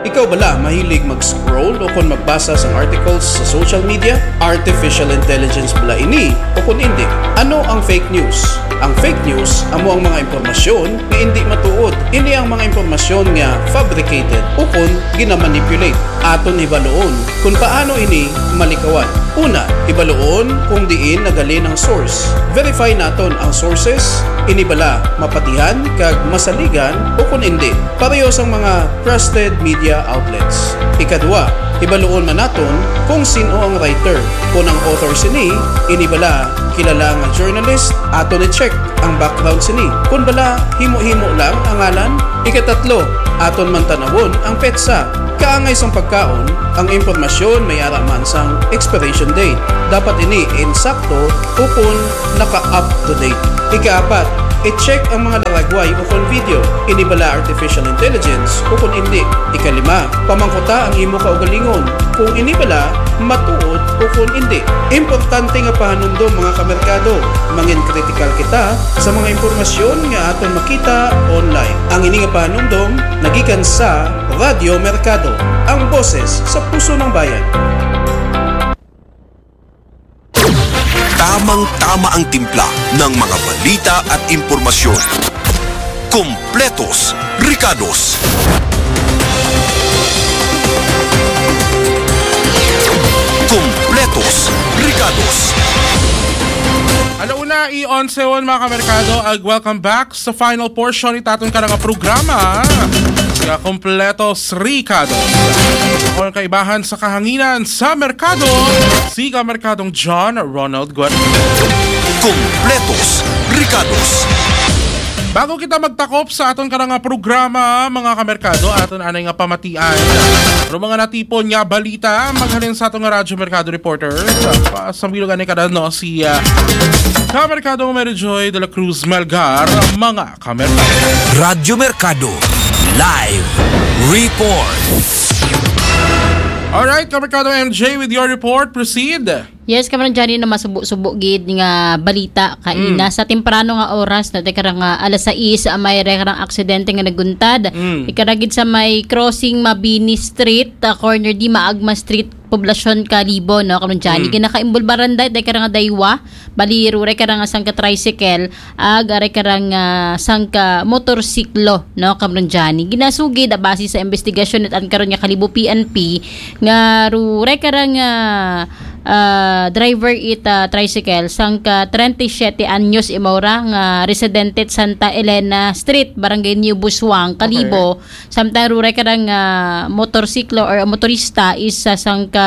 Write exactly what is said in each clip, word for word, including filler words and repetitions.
Ikaw bala mahilig mag-scroll o kon magbasa sang articles sa social media? Artificial intelligence bala ini o kon indi? Ano ang fake news? Ang fake news amo ang mga impormasyon nga indi matuod. Ini ang mga impormasyon nga fabricated o kon ginamanipulate. Aton hibaluon kon paano ini malikawan. Una, hibaluon kung diin nagalin ang source. Verify naton ang sources, ini bala mapatihan kag masaligan o kon indi. Pareho sang mga trusted media outlets. Ikadua, hibaluon man naton kung sin-o ang writer. Kon ang author sini, ini bala kilala nga journalist, aton i-check ang background sini. Kon bala himo-himo lang ang ngalan. Ikatatlo, aton man tan-awon ang petsa. Kaangay sang pagkaon, ang impormasyon may ara man sang expiration date. Dapat ini insakto o kon naka-up to date. Ikaapat, i-check ang mga laragway o kon video. Ini bala artificial intelligence o kon indi? Ikalima, pamangkuta ang imo kaugalingon kung ini bala matuod o kon indi. Importante nga pahanumdom, mga kamerkado, mangin kritikal kita sa mga impormasyon nga aton makita online. Ang ini nga pahanumdom nagikan sa Radyo Merkado, ang boses sa puso ng bayan. Tamang-tama ang timpla ng mga balita at impormasyon. Kompletos Rikados. Kompletos Rikados. Alauna i onse on, mga kamerkado, ag welcome back sa final portion it aton karang programa nga Kompletos Rikados. Ang kaibahan sa kahanginan sa merkado, si kamerkadong John Ronald Guerrero. Kompletos Rikados. Bago kita magtakop sa aton karang programa, mga kamerkado, aton anay nga pamatian. Pero mga natipon nga balita, maghalin sa aton nga Radyo Merkado reporter. Sa bilog anay kada, no, si ah, Kamerkadong Mary Joy de la Cruz Malgar, mga kamerkado. Radyo Merkado. Live report. Alright, Kamerkadong M J, with your report, proceed. Yes, karon Johnny, na masubo-subo gid nga balita kaina sa temprano nga oras, no, te karang ah, alas sais, ah, may re karang aksidente nga naguntad. Ikara gid sa may crossing Mabini Street, ah, corner di Maagma Street, Poblacion, Kalibo, no, karon Johnny. Ginakaimbulbaran dahil te karang daywa, bali rure karang sangka tricycle, ag are karang ah, sangka motorsiklo, no, karon Johnny. Ginasugid, ah, base sa investigasyon it an karon nga Kalibo P N P nga rure karang ah, ah, driver it ah, tricycle, sangka treinta y siete anyos imaw ra, nga residente it Santa Elena Street, Barangay New Busuang, Kalibo. Samtang rure karang ah, motorsiklo or motorista is ah, sangka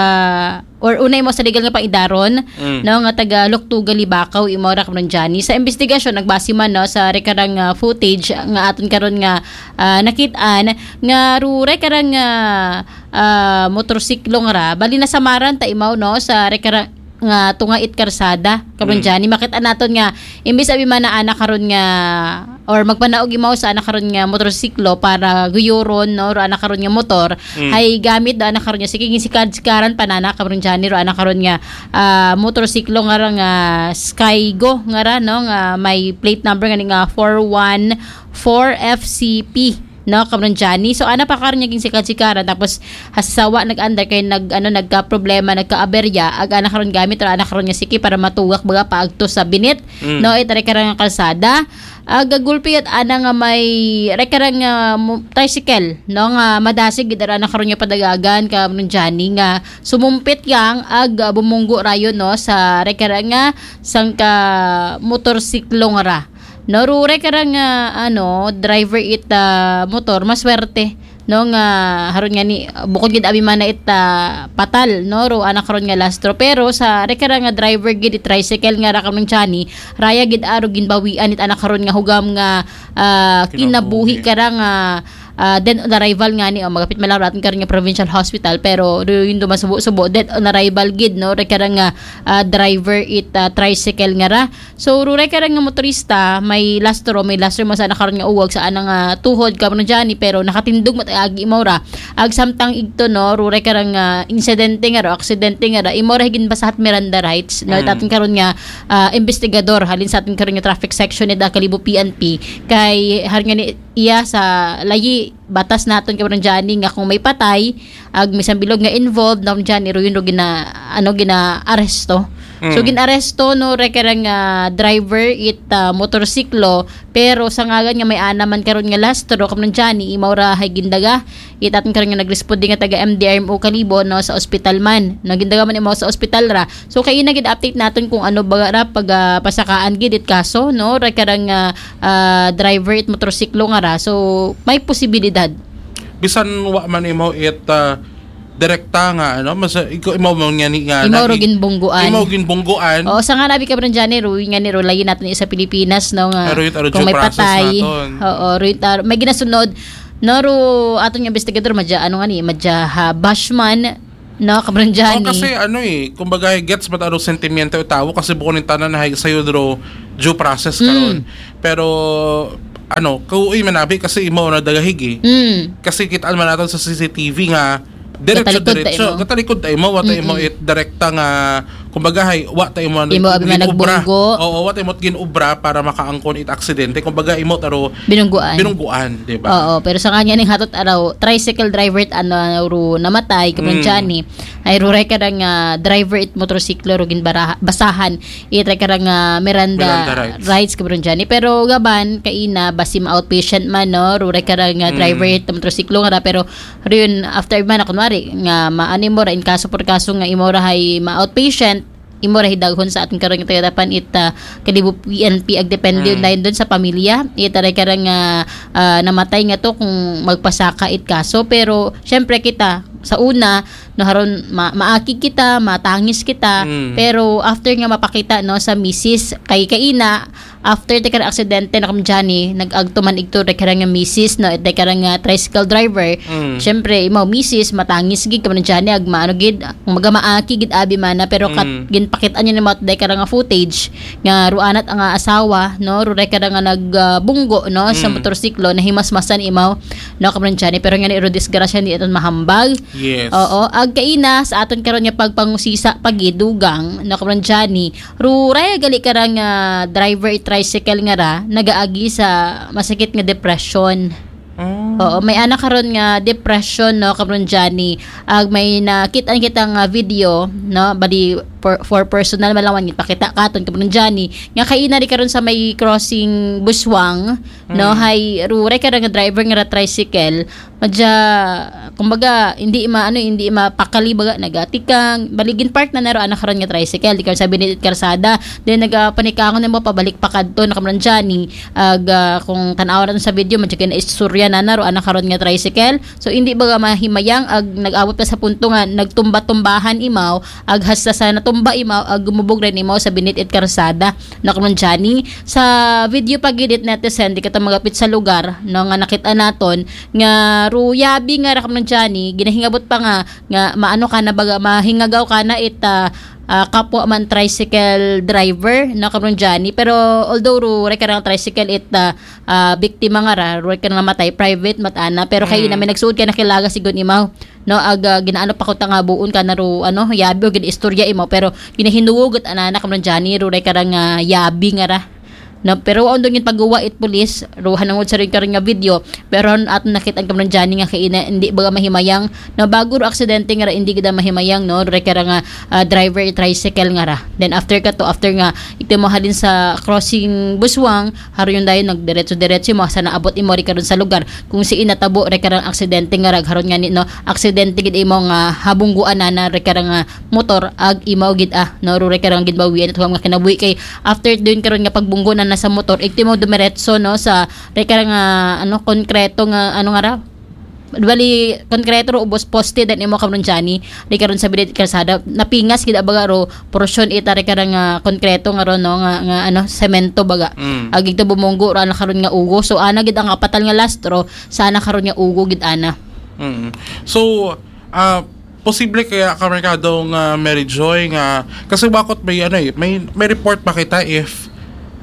or unay mo sa legal nga paidaron, no, nga taga Loktuga, Libacao, imaw ra karon Johnny. Sa investigasyon, nagbase man, no, sa rekarang ah, footage nga aton karon nga ah, nakit-an nga rure karang ah, ah, motorsiklo nga ra, bali nasamaran ta imaw, no, sa rekarang nga tunga it karsada, karon Johnny. Makit-an naton nga imbis abi man na ana karon nga or magpanaog imaw sa ana karon nga motorsiklo para guyuron, no, ro ana karon nga motor, hay gamit do ana karon nga sige, ginsikad-sikaran pa nana karon Johnny, ro ana karon nga ah, motorsiklo nga ra nga Skygo nga ra, no, nga may plate number nga ni nga four one four F C P, no, karon Johnny. So ana pa karon nga ginsikad-sikaran, tapos hasawa nag-under kay nag ano, nagka-problema, nagka-aberya, ag ana karon gamit, or ana karon nga siki para matugak baga paagto sa binit, no, itare karang kalsada. Ag gulpi it ana nga may rekarang ah, mo- tricycle, no, nga madasig gid ara ana karon nga padagagan karon Johnny, nga sumumpit yang ag ah, bumunggo rayon, no, sa rekarang nga sangka motorsiklo nga ra. No, rure karang ah, ano, driver it ah, motor, maswerte, no, nga haron nga ni bukod gid abi man na it ah, patal, no, ro ana karon nga lastro, pero sa rekarang nga driver gid it tricycle nga ra karon Johnny, raya gid aro ginbawian it ana karon nga hugam nga ah, kinabuhi karang ah, ah, dead on arrival nga ni, o magapit man lang ro aton karon nga provincial hospital, pero ro yun do masubo-subo, dead on arrival gid, no, rekarang nga ah, driver it ah, tricycle nga ra. So rure karang nga motorista, may lastro, may lastro mo sa ana karon nga uwag sa ana nga tuhod karon Johnny, pero nakatindog mat agi imaw ra. Ag samtang igto, no, rure karang ah, insidente nga ra, aksidente nga ra, imaw ra higin basahat Miranda rights, no, aton karon nga ah, investigador halin sa aton karon nga traffic section ni da Kalibo P N P, kay har nga ni iya sa layi batas naton, Kabrang Johnny, nga kung may patay, ag may isang bilog nga involved, no, Kabrang Johnny, ro yun ro gina, ano, gina-aresto. So, gin-aresto, no, rekara nga driver it ah, motorsiklo, pero sa ngaran nga may-ana man karon nga lastro, Kabrang Johnny, imaw ra hay gindaga it aton karon nga nagresponde nga taga M D R M O Kalibo, no, sa ospital man. No, gindaga man imaw sa ospital ra. So, kaina gid update naton kung ano ba ra pag ah, pasakaan gid it kaso, no, rekara nga ah, driver it motorsiklo nga ra. So, may posibilidad. Bisan wa man imaw it ah, direkta nga, ano, mas ikaw imaw man nga ni nga Imaw na- ro ginbungguan. Imaw ginbungguan. Oo, sa nga nabi, Kabrang Johnny, ro, nga ni ro, layi naton sa Pilipinas, no, nga Pero yung, ano, kung due may process patay. Naton. Oo, ro, yung, may ginasunod, no, ro, aton nga investigador, madya, ano nga ni, madya ha, bashman, no, Kabrang Johnny. Oh, kasi ano eh, kumbaga gets ba taro sentimiento yung tao kasi bukod ng tanan na hay sayo dro due process karon. Pero ano, kauy manabi kasi imo na dagahig eh. Mm. Kasi kitaan man naton sa C C T V nga diretso Gatalikod ta diretso, imo. Gatalikod ta imo, wa ta imo it direkta nga kumbaga hay wa ta imo Imo abi man ginobra. Nagbunggo. Oo, wa ta imo ginobra para makaangkon it aksidente. Kumbaga imo taro Binungguan. Binungguan, di ba? Oo, pero sa kanya ning hatot araw, tricycle driver ano ro namatay, Kabrang Mm. Johnny. Ay ro rekara nga driver it motorsiklo ro ginbaraha, basahan it rekara nga Miranda, Miranda rights. Rights, Kabrang Johnny. Pero gaban kaina basi ma-outpatient man, no, ro rekara nga Mm. driver it motorsiklo nga ra, pero ro yun after man kunwari nga maani mo ra in kaso por kaso nga imo ra hay ma-outpatient, imo ra hidaghon sa aton karon nga tagadapan it ah, Kalibo P N P ag depende Mm. dayon dun sa pamilya. It rekara nga ah, namatay nga to kung magpasaka it kaso. Pero syempre kita sa una, no, haron ma- maakig kita, matangis kita, Mm. pero after nga mapakita, no, sa misis kay kaina, after it rekara aksidente, no, Kabrang Johnny, nag-agto man igto rekara nga misis, no, it rekara nga tricycle driver. Mm. Syempre, imaw misis, matangis gid, Kabrang Johnny, ag maano gid, kung maga maakig gid abi man na, pero kat Mm. ginpakitaan niya ni mo it rekara nga footage nga ro anat ang asawa, no, ro rekara nga nagbunggo, no, sa Mm. motorsiklo, nahimasmasan imaw, no, Kabrang Johnny, pero nga ni ro disgrasya di aton mahambag. Yes. Oo, ag kaina sa aton karon nga pagpangusisa pagidugang, no, Kabrang Johnny, ro raya gali kara nga driver it tricycle nga ra nagaagi sa masakit nga depression. Oh. Oo, may ana karon nga depression, no, Kabrang Johnny. Ag may nakit-an kita nga video, no, bali for, for personal man lang wan, ipakita katon, Kabrang Johnny, nga kaina di karon sa may crossing Buswang, no, Mm. hay ro rekara nga driver nga ra tricycle, madya, kumbaga, hindi ma-, ano, hindi mapakali, baga, nagatikang, bali ginpark na na ro ana karon nga tricycle, di karon sa binit it karsada, then nagapanikangon na mo pabalik pa kadto, no, Kabrang Johnny, ag ah, kung tan-aw naton sa video, madya na istorya na na ro ana karon nga tricycle. So, hindi baga mahimayang, ag nag-abot pa sa punto nga nagtumba-tumbahan imaw, ag hasta sa natumba imaw, ag gumubog rin imaw sa binit it karsada, no, Kabrang Johnny. Sa video pa gid it netizen, di kita magapit sa lugar, no, nga nakita naton, nga ro yabi nga ra, Kabrang Johnny, ginahingabot pa nga, nga maano ka na baga, mahingagaw ka na it ah, ah, kapwa man tricycle driver, no, Kabrang Johnny. Pero although ro rekara nga tricycle it ah, ah, biktima nga ra, ro rekara namatay, private man it ana, pero kaina may nagsuod ka na kilaga sigun imaw, no, ag ah, ginaano pa ko ta nga buon ka na ro, ano, yabi o ginaistorya imaw, pero ginahinuog it ana na, Kabrang Johnny, ro rekara nga yabi nga ra. No, pero wa undang ginpaguwa it pulis, ro hanungod sa rin karon nga video, pero aton nakit-an, Kabrang Johnny, nga kaina hindi baga mahimayang, no, bago ro aksidente nga ra, hindi gid mahimayang, no, ro rekara nga ah, driver it tricycle nga ra. Then after kato, after nga igto mo halin sa crossing Buswang, haro yun dayon nagdiretso-diretso mo, sa naabot imo ri karon sa lugar kung siin natabo rekara nga aksidente nga ra, ag haron nga ni, no, aksidente gid imaw nga habungguan na na rekara nga motor, ag imaw gid ah, no, ro rekara nga ginbawian it huwam nga kinabuhi, kay after dayon karon nga pagbunggo na na sa motor, igto mo dumiretso, no, sa rekara nga, ano, konkreto nga, ano nga ra, bali, konkreto ro ubos poste, then imo, Kabrang Johnny, di karon sa binit it karsada, napingas gid baga ro porsyon ita rekara nga konkreto nga ro, no, nga, nga, ano, semento baga. Mm. Ag igto bumunggo ro ana karon nga ugo. So ana gid ang kapatal nga lastro sa ana karon nga ugo gid ana. Mm. So, ah, posible kaya, Kamerkado, nga Mary Joy, nga kasi bakot may, ano eh, may, may report pa kita if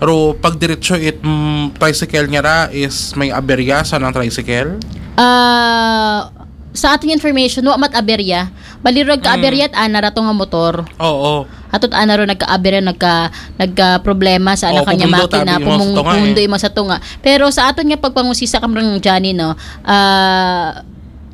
ro pagdiretso it mm, tricycle nga ra is may aberya sa nang tricycle? Ah, sa ating information, wa mat aberya. Bali, ro ka aberya it ana ra to nga motor. Oo. Hatot ana ro nagka-abira, nagka, nagka-problema sa ana Oo, kanya pumundo, makina, tabi mo sa pumung-, tunga, eh. pumundo imo sa tunga. Pero sa aton nga pagpangusisa, Kamrong Johnny, no, ah,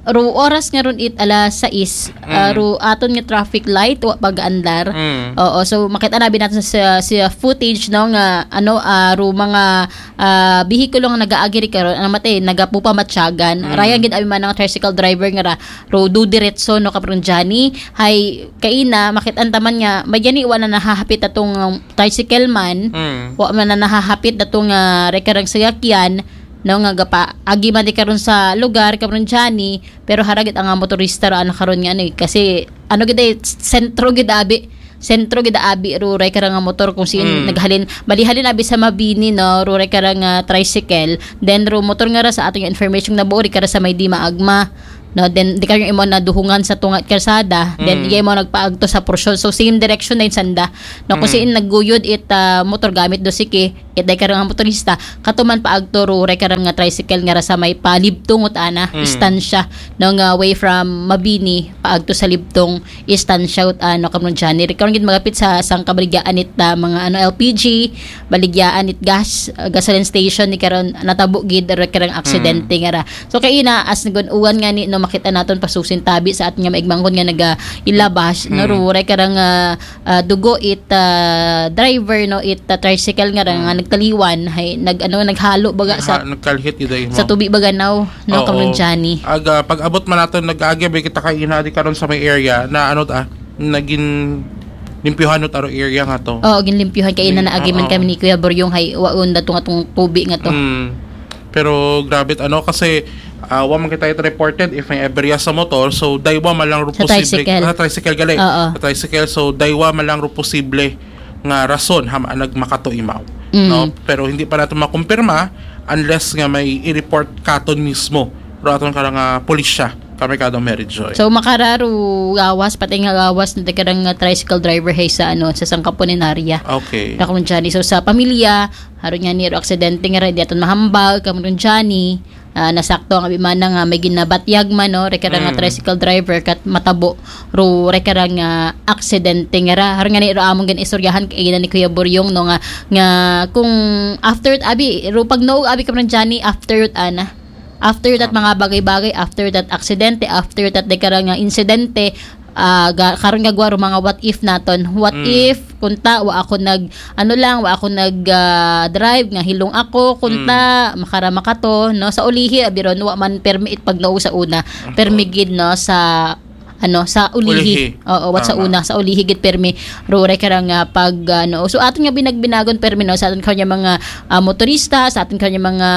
ro oras nga ron it alas sais, ah, Mm. ro aton nga traffic light, wa pag-andar. Mm. Oo, so makita na abi naton sa, sa footage, no, nga, ano, ah, ro mga, ah, bihikulo nga nagaagi ri karon, ano mate, nagapupamatyagan. Mm. Raya gid abi man ang tricycle driver nga ra, ro dudiretso, no, Kamrong Johnny. Hay, kaina, makit-an taman nga, may gani, wala nahahapit atong, um, tricycle man, Mm. wa man na nahahapit atong, ah, rekarang sayakyan, no, nga gapa, agi man di karon sa lugar, Kamrong Johnny, pero haragit ang, ah, motorista ra ana karon nga, ano, eh, kasi, ano gid, eh, sentro gid abi, sentro gid abi, ro rekarang nga motor kung siin Mm. naghalin, bali halin abi sa Mabini, no, ro rekarang, ah, tricycle, then ro motor nga ra sa aton nga information na buo, ri kara sa may di maagma, no, then di karon imo naduhungan sa tunga it karsada, then Mm. iya imo nagpaagto sa porsyon. So, same direction na yun sanda. No, kung Mm. siin nagguyod it, ah, motor gamit do siki, it day karang motorista, katuman paagto ro rekarang nga tricycle nga ra sa may palibtong ut ana, Mm. istansya, no, nga way from Mabini, paagto sa libtong istansya ut ano, Kamrong Johnny. Ri karon gid magapit sa sangka baligyaan it, ah, mga ano, L P G, baligyaan it gas, ah, gasoline station ni karon natabo gid rekarang aksidente nga ra. So kaina as nagun-uwan nga ni, no, makita naton pasusin tabi sa aton nga maigmangkon nga naga ilabas, no, Hmm. ro rekarang, ah, ah, dugo it, ah, driver, no, it, ah, tricycle nga ra nga nagtaliwan, hay nag, ano, naghalo baga sa, Ha, nagkalhit gid ay mo. sa tubi baga now, no, Oo. Kamrong Johnny. Aga, pag-abot man naton nag-agi ba kita kaina di karon sa may area na ano ta, naging limpyuhan no taro area nga to. Oo, ginlimpyuhan kaina Ning-, na agi man oo. kami ni Kuya Boryong, hay waon datong atong tubi nga to. Mm. Pero grabe ano kasi ah, wa man kita it reported if may aberya sa motor, so daywa man lang ro Sa posible. Tricycle. Ah, tricycle gali. Oo. Sa tricycle, so daywa man lang ro posible nga rason ha nagmakato imaw. Mm. No? Pero hindi pa naton makumpirma unless nga may i-report katon mismo ro aton karang, ah, pulisya, Kamerkado Mary Joy. So makararo gawas, pati nga gawas na karang, ah, tricycle driver hay sa, ano, sa sangka punerarya. Okay. Kamrong Johnny. So sa pamilya, haro nga ni ro aksidente nga ra, di aton mahambal, Kamrong Johnny. Ah, nasakto ang abi man nga may ginabatyag man, no, rekarang nga Mm. tricycle driver kat matabo ro rekarang nga aksidente nga ra. Haro nga ni ro among ginaistoryahan kaina ni Kuya Boryong, no, nga, nga kung after abi, ro pag no abi, Kamrong Johnny, after ana. After that mga bagay-bagay, after that aksidente, after that rekarang nga insidente, ah, ga, karon gagwa ro mga what if naton. What Mm. if kunta wa ako nag, ano lang, wa ako nag, ah, drive nga hilong ako, kunta makara makato, no? Sa ulihi abi ron, wa man permi it pagno sa una. Permi gid, no, sa, ano, sa ulihi. Ulihi. Oo, what sa Tama. Una, sa ulihi gid permi ro rekarang, ah, pag, ano. So aton nga binagbinagon permi, no, sa aton kanya mga, ah, motorista, sa aton kanya mga,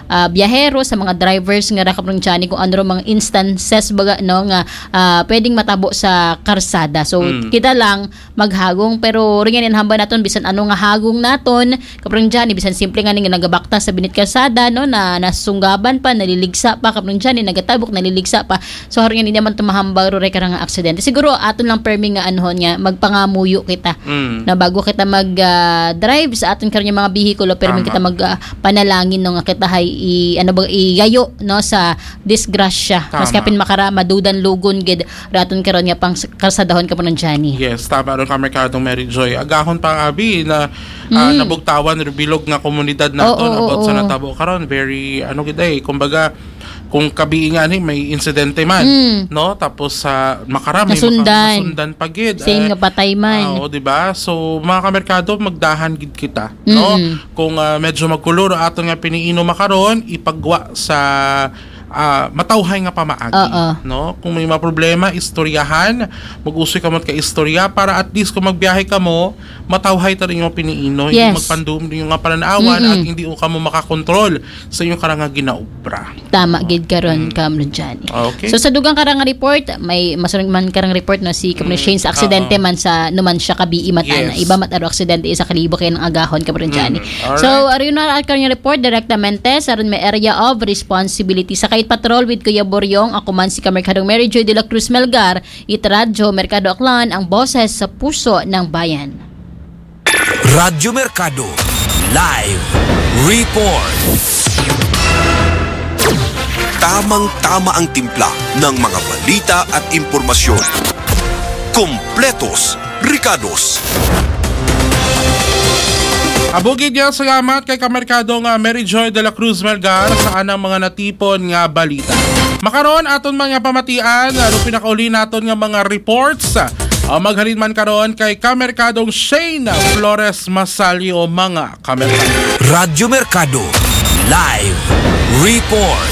ah, biyahero, sa mga drivers nga ra, Kamrong Johnny, kung ano ro mga instances baga, no, nga, ah, pwedeng matabo sa karsada. So Mm. kita lang maghagong, pero ro nga ni hambal naton bisan ano nga hagong naton, Kamrong Johnny, bisan simple nga ni nga nagabaktas sa binit karsada, no, na nasunggaban pa, naliligsa pa, Kamrong Johnny, nagatabok, naliligsa pa. So haro nga ni naman tumahambal ro rekarang nga aksidente. Siguro aton lang permi nga anuhon nga magpangamuyo kita. Mm. Na bago kita mag, ah, drive sa aton karong mga bihikulo, permi Tama. Kita mag, ah, panalangin, no, nga kita hay i, ano ba, igayo, no, sa disgrasya. Tama. Mas kapin makara madudan lugon gid raton karon nga pang karsadahon, Kamrong Johnny. Yes, tama ron, Kamerkadong Mary Joy. Agahon pa abi na, ah, Mm. nabugtawan ro bilog nga komunidad nato, Oo, oo, about sa oo. natabo karon, very, ano gid ay, kumbaga, kung kabii nga ni may insidente man, Mm. no? Tapos sa makarami, Nasundan. Nasundan pa gid. Same Eh, nga patay man. ah, oo, di ba? So, mga kamerkado, magdahan gid kita, no? Mm. Kung, ah, medyo magkulo ro aton nga piniino makaron, ipagwa sa, ah, matawhay nga pamaagi, Oo. no? Kung may mga problema, istoryahan, mag-usoy kamo ka istorya para at least kung magbiyahe kamo, matawhay ta rin yung piniino, hindi Yes. magpandum yung nga pananawan Mm-mm. at hindi ko kamo makakontrol sa inyong karang nga ginaobra. Tama gid karon, Mm. Kamrong Johnny. Okay. So sa dugang karang nga report, may masunod man karang report, no, si Kamrong Mm, Shane, sa aksidente oo. Man sa Numancia, Kabii, mata na Yes. iba mat aro aksidente isa kalibo kay nang agahon, Kamrong Johnny. Mm, alright. So ari na ang karang report, direct na mentes, aron may area of responsibility sa Kait Patrol with Kuya Boryong. Ako man si Kamerkadong Mary Joy de la Cruz Melgar, it Radyo Merkado Aklan, ang boses sa puso ng bayan. Radyo Merkado Live Report. Tamang-tama ang timpla ng mga balita at impormasyon. Kompletos Ricados. Abugid nga salamat kay Kamerkadong ah, Mary Joy de la Cruz Melgar sa anang mga natipon nga balita. Makaron aton mga pamatian, ano pinakauli naton nga mga reports? Ah, maghalin man karon kay Kamerkadong Shane Flores Masalio, mga kamerkado. Radyo Mercado. Live report.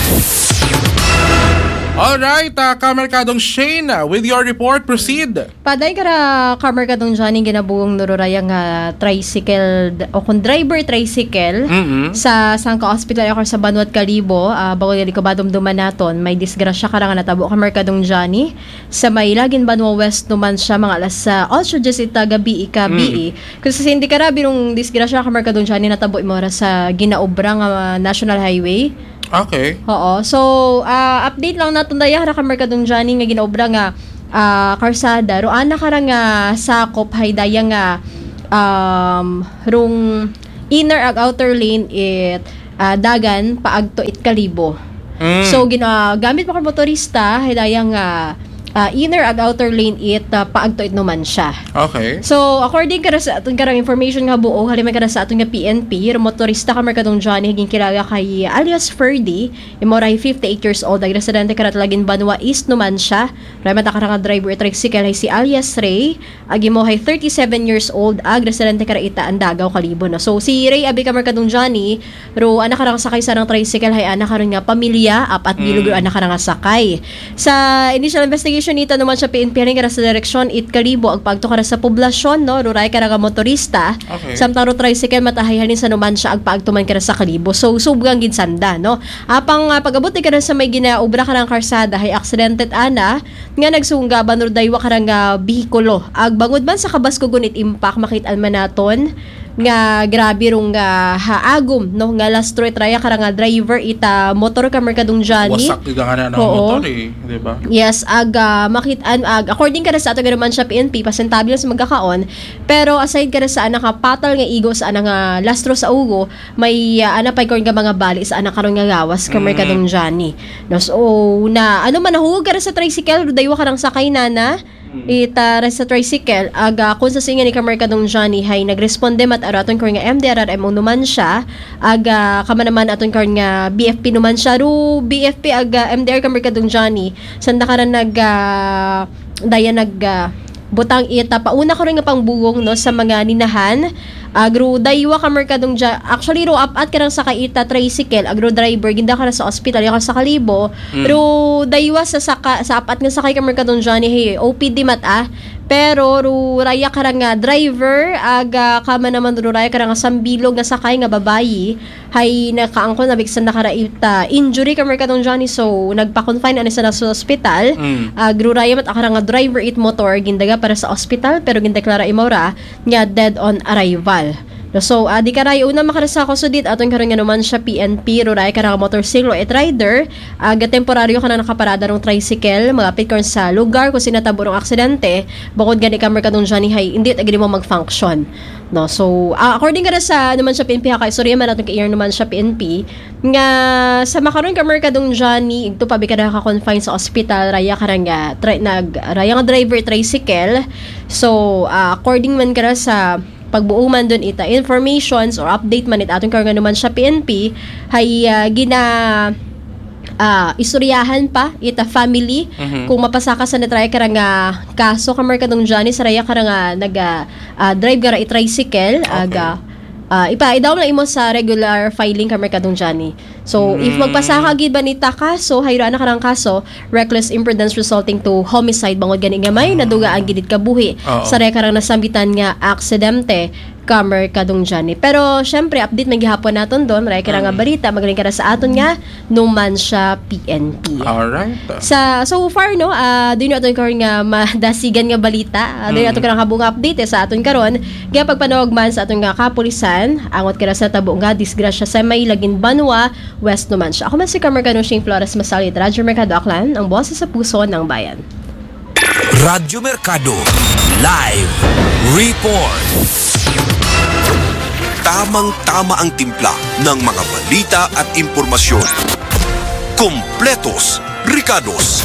Alright, uh, Kamerkadong Shane, with your report, proceed. Paday kara Kamerkadong Johnny, ginabugong nururaya nga tricycle d- o kung driver tricycle Mm-mm. sa sangka hospital ako sa Banwat Kalibo, uh, bago gali ko badumduman naton, may disgrasya kara nga natabo Kamerkadong Johnny sa may Lagin Banwa West naman siya mga alas uh, also just ita gabi ikabi. Kasi hindi kara binong disgrasya Kamerkadong Johnny natabo imora sa ginaobra nga National Highway. Okay. Oo. So, ah, update lang naton daya ra Kamerkadong Johnny nga ginaobra nga ah, karsada. Ro ana kara nga sakop hay daya nga um, rung inner ag outer lane it ah, dagan paagto it Kalibo. Mm. So ginagamit pa kang motorista hay daya nga ah, inner ag outer lane it ah, paagto it Numancia. Okay. So, according kara sa aton karang information nga buo, halimay kara sa aton nga P N P, ro motorista Kamerkadong Johnny, higing kilala kay alias Ferdy, imo ray fifty-eight years old, ag residente kara Lagin Banwa East Numancia. Ray mata kara nga driver it tricycle hay si alias Ray, ag imo hay thirty-seven years old, ag residente kara ita Andagaw Kalibo, no. So, si Ray abi Kamerkadong Johnny, ro ana kara nga sakay sa rang tricycle hay ana karon nga pamilya, apat bilog ro ana kara nga sakay. Sa initial investigation ita Numancia P N P, halin kara sa direksyon it Kalibo, ag paagto kara sa poblasyon, no, ro ray kara nga motorista. Okay. Samtang ro tricycle matahay halin sa Numancia, ag paagto man kara sa Kalibo. So, subgang gid sanda, no. Apang ah, pag-abot ni kara sa may ginaobra karang karsada hay aksidente ana nga nagsungga banor daywa karang ah, behikulo. Ag bangod man sa kabaskugon it impact, makit-an man naton nga grabe rong ah, haagom, no, nga lastro it raya karang ah, driver ita motor Kamerkadong Johnny. Wasak gid ang ana ng Oo. Motor eh, di ba? Yes, ag ah, makit-an ag according kara sa ato nga naman siya P N P, pasentabli sa magkakaon, pero aside kara sa ana nga patal nga igo sa ana nga lastro sa ugo, may ah, ana pay karon nga mga bali sa ana karon nga gawas Kamerkadong Johnny. No, so na ano man nahulog kara sa tricycle, daywa karang sakay nana. Ita ra sa tricycle, aga kung sa singa ni Kamerkadong Johnny hay nagresponde mat araton karon nga M D R R M O naman siya, aga kama naman aton karon nga B F P naman siya, ru B F P aga M D R Kamerkadong Johnny, sanda karan nag ah, daya nag ah, butang ita pauna karon nga pangbugong, no, sa mga ninahan. Agro daywa Kamerkadong Ja-, actually ro apat karang sakay ita tricycle, agro driver ginda kara sa ospital, yakan sa Kalibo. Ro daywa sa saka, sa apat nga sakay Kamerkadong Johnny hay O P D mat ah. Pero ro raya karang nga driver, aga kama naman ro raya karang nga sambilog nga sakay nga babayi, hay nakaangkon na biksan na kara ita injury Kamerkadong Johnny, so nagpa-confine ani sa naso ospital. Agro raya mat akara nga driver it motor gindaga para sa ospital, pero gindeklara imaw ra nga dead on arrival. No, so, ah, di karay una makarasa ko sudit aton karon nga naman siya P N P, ruray ka nga motorsiklo at rider, aga temporaryo ka na nakaparada rong tricycle, malapit karon sa lugar kung sinatabo rong aksidente, bukod gani ka Merkadong Johnny hay, hindi at agad mo mag-function. No, so, ah, according ka na sa naman siya P N P ha, kay sorry man aton ka naman siya P N P, nga sa makaron ka Merkadong Johnny, igto pa bi ka naka-confine sa ospital, raya ka nga, tri- nag, raya nga driver tricycle. So, ah, according man ka na sa pagbuo man dun ita informations or update man it aton karon nga naman siya P N P, hay ah, gina ah, istoryahan pa ita family kung mapasaka sa natraya ka nga kaso ka Merkadong Johnny sa raya ka nga nag ah, drive ka ra i tricycle aga ah, ipa idaw na imo sa regular filing ka Merkadong Johnny. So if magpasaka gid ba nita kaso, hayra na karang kaso, reckless imprudence resulting to homicide, bangod gani nga may naduga ang gidit kabuhi Oo. sa raya karang nasambitan nga aksidente ka Merkadong Johnny. Pero syempre update man gihapon naton don, raya karang nga balita, magaling ka na sa aton nga Numancia P N P. Alright. Sa so far no, ah, dun yung aton karon nga madasigan nga balita. Ah, dun yung aton karang habong update eh, sa aton karon. Kaya pagpanawag man sa aton nga kapulisan, angot ka na sa tabo nga disgrasya sa may Lagin Banwa, West Numancia. Ako man si Kamerkadong Shane Flores Masalit, Radyo Merkado Aklan, ang boses sa puso ng bayan. Radyo Merkado. Live report. Tamang-tama ang timpla ng mga balita at impormasyon. Kompletos, rikados.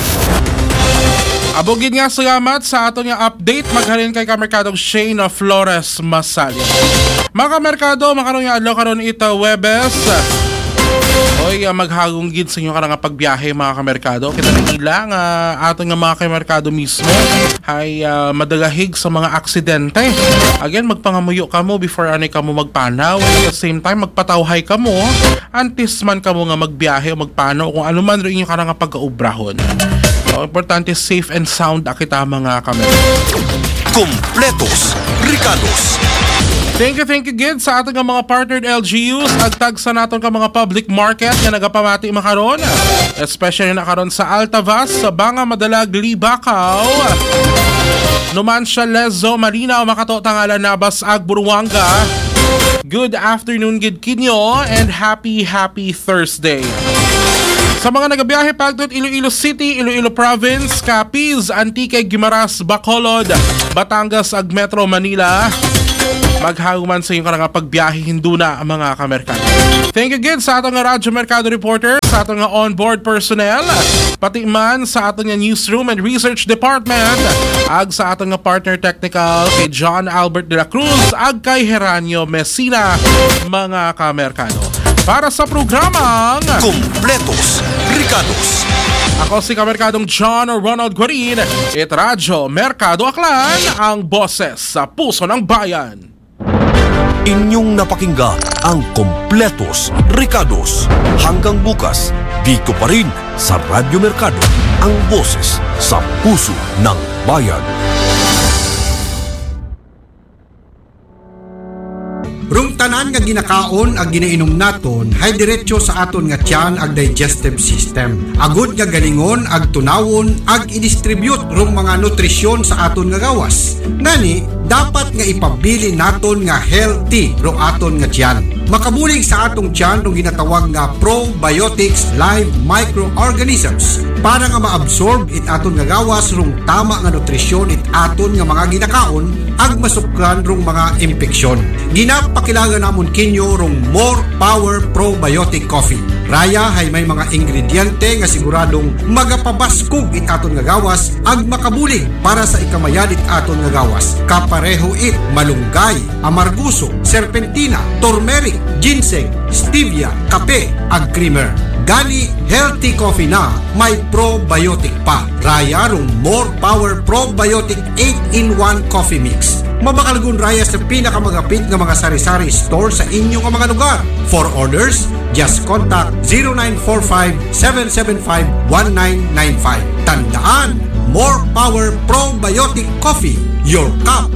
Abo gid nga, salamat sa aton nga update. Maghalin kay Kamerkadong Shane Flores Masalya. Mga kamerkado, makaron nga adlaw karon ita Webes. Oy, ah, maghagong gid sa inyo karang nga pagbiyahe, mga kamerkado. Kita na ila nga aton nga mga kamerkado mismo ay, ah, madalahig sa mga aksidente. Again, magpangamuyo kamo before ani kamo magpanaw. At the same time, magpatawhay kamo antes man kamo nga magbiyahe o magpanaw kung ano man rin inyo karang nga pagkaubrahon. So, importante, safe and sound a kita, mga kamerkado. Kompletos, rikados. Thank you, thank you gid sa aton nga mga partnered L G Us, agtag sa naton ka mga public market nga nagapamati makaron, especially na karon sa Altavas, sa Banga, Madalag, Libacao, Numancia, Lezo, Malinaw, Makato, Tangala, Nabas, ag Buruanga. Good afternoon gid kinyo and happy, happy Thursday. Sa mga nagabiyahe pagtod Iloilo City, Iloilo Province, Capiz, Antique, Guimaras, Bacolod, Batangas, ag Metro Manila, maghahuman sa inyong karang nga pagbiyahe hinduna, mga kamerkado. Thank you gid sa aton nga Radyo Merkado reporter, sa aton nga onboard personnel, pati man sa aton nga newsroom and research department, ag sa aton nga partner technical kay John Albert de la Cruz, ag kay Heranio Messina, mga kamerkado. Para sa programang Kompletos, rikados. Ako si Kamerkadong John Ronald Guarin, it Radyo Merkado Aklan, ang boses sa puso ng bayan. Inyong napakinggan ang Kompletos, rikados. Hanggang bukas, dito pa rin sa Radyo Merkado, ang boses sa puso ng bayan. Rung tanan nga ginakaon ag ginainom naton, hay diretso sa aton nga tiyan ag digestive system. Agud nga galingon ag tunawon ag i-distribute rung mga nutrisyon sa aton nga gawas. Ngani, dapat nga ipabilin naton nga healthy rung aton nga tiyan. Makabulig sa atong tiyan rung ginatawag nga probiotics live microorganisms para nga maabsorb it aton nga gawas rung tama nga nutrisyon it aton nga mga ginakaon ag masukran rung mga impeksyon. Ginapakilaga namon kinyo rung More Power Probiotic Coffee. Raya hay may mga ingrediente nga siguradong magapabaskog it aton nga gawas ag makabulig para sa ikamayad it aton nga gawas. Kapareho it malunggay, amarguso, serpentina, turmeric, ginseng, stevia, kape, ag creamer. Gani, healthy coffee na may probiotic pa. Raya rung More Power Probiotic eight-in-one Coffee Mix. Mabakalgun raya sa pinakamagapit nga mga sari-sari store sa inyo nga mga lugar. For orders, just contact zero nine four five, seven seven five, one nine nine five. Tandaan, More Power Probiotic Coffee, your cup